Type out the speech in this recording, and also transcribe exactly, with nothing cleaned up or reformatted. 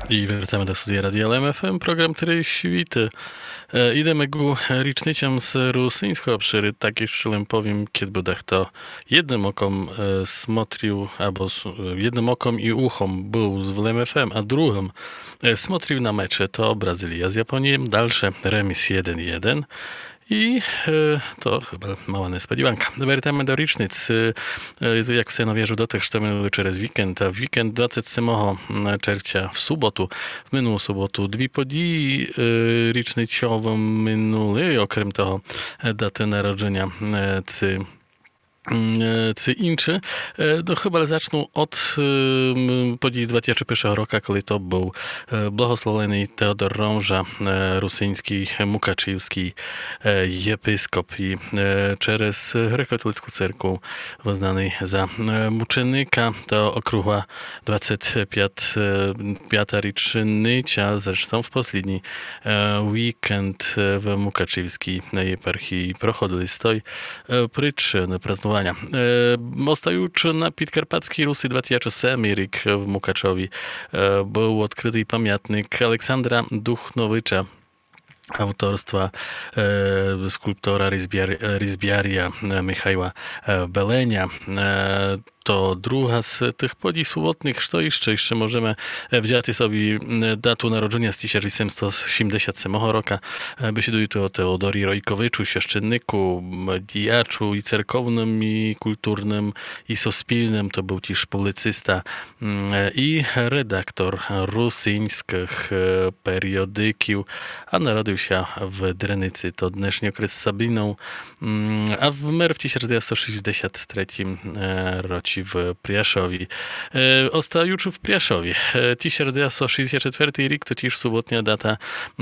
І вертаме до студія Радія Лем ФМ, програм «Три світы». Е, ідеме ґу річницям з русиньского обширу, так іщы лем повім, кед бы дахто єдным оком, е, смотрив, або с-, е, єдным оком і ухом был в Лем ФМ, а другым, е, смотрив на мечы, то Бразилія з Японієм, дальше реміс єден єден. І, е, то хыба мала несподіванка. Вертаме до річниць. Е, е, як все належыт до тых, што минули через вікенд. А в вікенд двадцет семого, м, червця в суботу, в минулу суботу дві події, е, річницьовы минули, окрем того, е, даты народжыня, е, ци, м, е, ци інчы. Е, но, хыба зачну од, е, м, подій з двадцет першого рока, коли то был, е, благословленый Теодор Рожа, е, русиньскій, мукачівскій, е, єпископ і, е, через греко-католицьку церкву вызнаный за, е, мученика. То округла двадцет пят, е, пята річниця, зрештом в послідній, е, вікенд, е, в мукачівскій єпархії проходили з той, е, причыны празнованя. Е, остаючы на Підкарпатьскій Руси, двадцет семый рік в Мукачові, е, был одкрытый памятник Александра Духновича, авторства, е, скульптора, різбяр-, е, різбяря, е, Михайла, е, Беленя. Е, то друга з тых подій сувотных. Што іщы? Іщы можеме, е, взяти собі, м, дату народжыня з тисяч вісемсто сімдесят семого рока. Е, бесідую ту о Теодорі Ройковичу, священнику, м, діячу і церковным, і культурным, і суспільным. То был тіж публіциста, м, е, і редактор русиньскых, е, періодиків, а народив ся в Дреници, то днешній окрес Сабінов, м, а вмер в тисяч девятсот шістдесят третім, е, році в Пряшові. Е, остаючы в Пряшові, е, тисяч девятсот шістдесят четвертый рік, то тіж сувотня дата,